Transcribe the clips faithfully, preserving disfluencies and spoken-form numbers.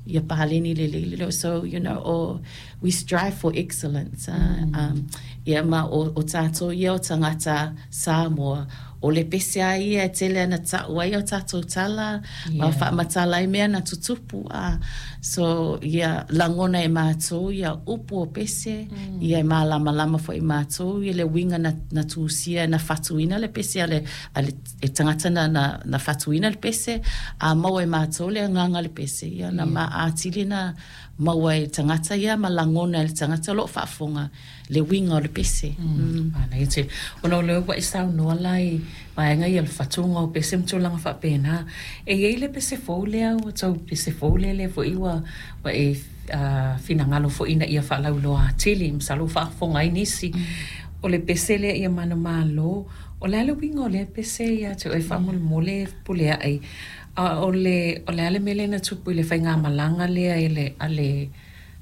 Ia paleni lelei le so you know o we strive for excellence uh, mm. um, ia ma o, o tātou ia o tangata Samoa o le pese a ia e tele ana ta'u ai o tātou tala yeah. ma faamatala ai mea na tutupu a so ia lagona e matou ia upu o pese mm. ia e malamalama fo'i matou i le uiga na, na tusia na fatuina le pese a le, a le e tagata na, na, na fatuina le pese a maua e matou le agaga le pese ia na yeah. ma atili na maua e tagata ia ma lagona e le tagata o loo faafofoga le uiga o le pese mm. mm. tele ona o lea ua e saunoa la i vaega ia le fatuga o pese ma tulaga faapena e iai le pese fou lea ua tau pese fou lea lea fo'i ua ua e uh, finagalo fo'i ina ia faalauiloa atili masalo ua faafofoga ai nisi mm. o le pese lea ia manumalo o le a le uiga o lea pese ia te oe faamolemole pule aʻe a o le o le a le mea lea na tupu i le faigamalaga lea i le a le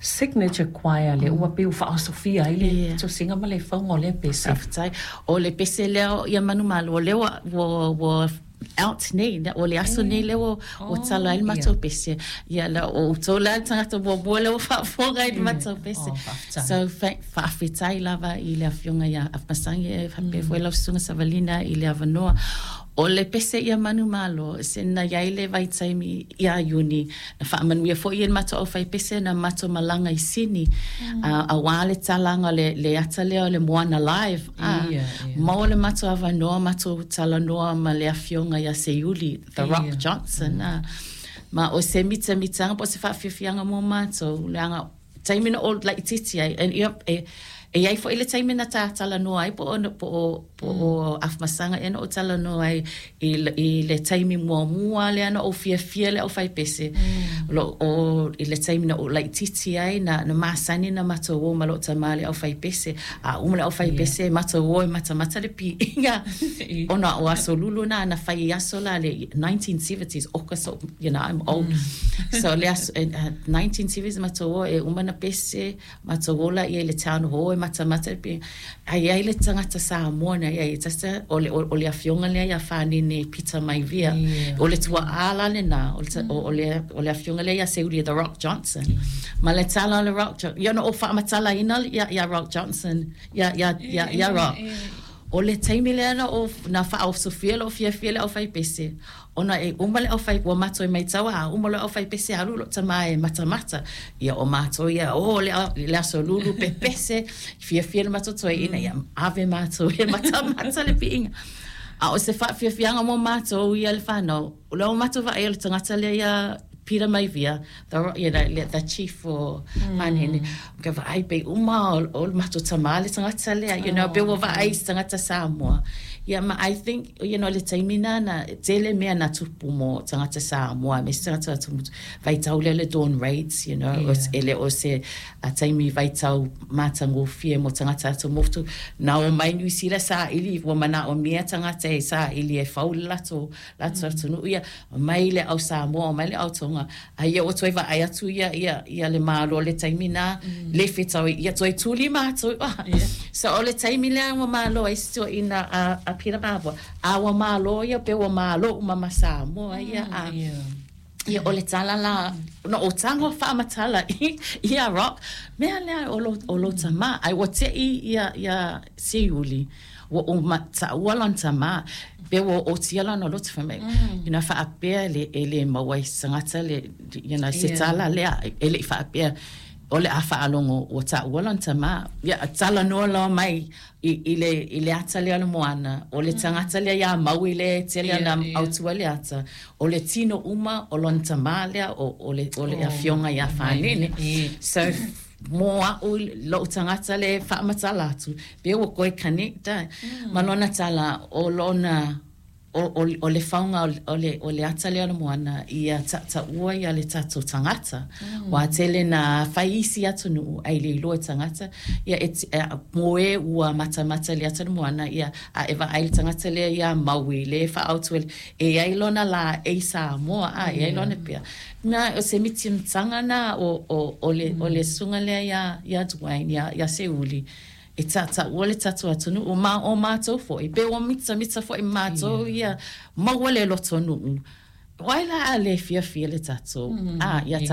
signature choir le ua pei ua faaosofia ai le yeah. tosiga ma le fauga o lea pese faafetai o le pese lea ia manumalo o lea ua ua, ua out nei o le aso nei lea ua ua tala ai le matou pese ia la o outou la le tagata muamua lea ua faafofoga i le matou pese so faafetai lava i le afioga ia Afamasaga e faapea foi lau susuga Savalina i le avanoa o le pese ia manumalo se na iai le vaitaimi ia Iuni na faamanuia fo'i e le matou aufaipese na matou malaga i Sini mm. uh, auā le talaga le, le ata lea o le Moana Live ah, yeah, yeah. maua le matou avanoa matou talanoa ma le afioga ia Seiuli The Rock yeah. Johnson mm. ah. ma o se mitamitaga po o se faafiafiaga mo matou leaga taimi na o laitiiti ai e, e, e iai fo'i le taimi na tatalanoa ai po o po o po o mm. Afamasaga ea na o talanoa ai i, i le taimi muamua lea na ou fiafia le aufaipese mm. lo o i le taimi na ou laitiiti ai na na masani na matou o ma loo tamā le aufaipese a uma le aufaipese yeah. matou o e matamata le piiga ona o aso lulu na na fai i aso la le nineteen seventies oka so you know I'm old mm. so le aso uh, nineteen seventies matou o e uma na pese matou o la ia i le town hall e matamata le piiga ai ai le tagata Samoa na ia tasa o le o le afioga lea ia Fanene Peter Maivia yeah. o le tua'a la lena o le o le o le afioga lea ia Seiuli The Rock Johnson ma le tala o le Rock Johnson ia no o faamatalaina ia ia Rock Johnson ia ia ia ia Rock o le taimi lea na o na faaosofia loo fiafia le aufaipese ona e uma le aufai ua matou e maitau a uma le aufaipese alu loo tamā e matamata ia o matou ia o le, le aso lulu pepese fiafia le matou toeaina ia ave matou e matamata le piiga a o se faafiafiaga mo matou ia le fanau o lea o matou vaai o le tagata lea ia Peter Maivia, the, you know, the chief for mm. Fanene, ka vaai pe uma o, o le matou tamā le tagata lea, you know, pe ua vaai se tagata Samoa. Yeah, ma I think, you know, le taimi na, na tele mea na tupu mo tagata Samoa, me se tagata atu, vaitau lea le dawn raids, you know, yeah. e le o se a taimi vaitau matagofie mo tagata atu motu. Na o mai Niu Sila sa ili, ua mana o mea tagata e sa ili e fau le lato, lato mm. atunuu ia, mai le au Samoa, mai le au Tonga, a ia o toe vaai atu ia, ia, ia le malo le taimi na, mm. le fetau ia toe tuli mātou. Yeah. So o le taimi lea ua malo ai se ina a, a Peter Mavua. A ua malo ia pe ua malo uma ma Samoa ia. A, yeah. Ia o le tala la, no o tago faamatala i ia Rock, mea lea o lo, o lo tamā. Ai ua tei ia, ia Seiuli, ua o ma, taua lona tamā, pe ua o tia lona loto fai mai. Mm. You know, faapea le, e le maua i se tagata le, you know, se tala lea, e le i faapea, o le a faalogo ua taua lona tamā. Ia, talanoa loa mai i, i, le, i le ata lea o le Moana, o le tagata lea ia Maui le tele yeah, ana yeah. autua le ata, o le tino uma o lona tamā lea o, o le, o le oh, afioga ia Fanene. Yeah. So, mo a'u lo'u tagata le faamatala atu pe ua koe connect mm. ma lona tala o lona o, o, o le fauga o le, o le ata lea o le Moana ia ta'utaʻua ia le tatou tagata mm. ua tele na fai isi atunuu ai le iloa e tagata ia e, e, mo e ua matamata le ata le Moana ia a e vaai le tagata lea ia Maui le faaautu e ai lona la e i Samoa a e ai lona pea na o se mitimitaga na o, o, o, le, mm. o le susuga lea ia, ia Dwayne ia, ia Seiuli e ta'utaʻua le tatou atunuu ma o matou fo'i pe ua mitamita fo'i matou ia maua le lotonuu ai la a le fiafia le tatou mm, a ia yeah.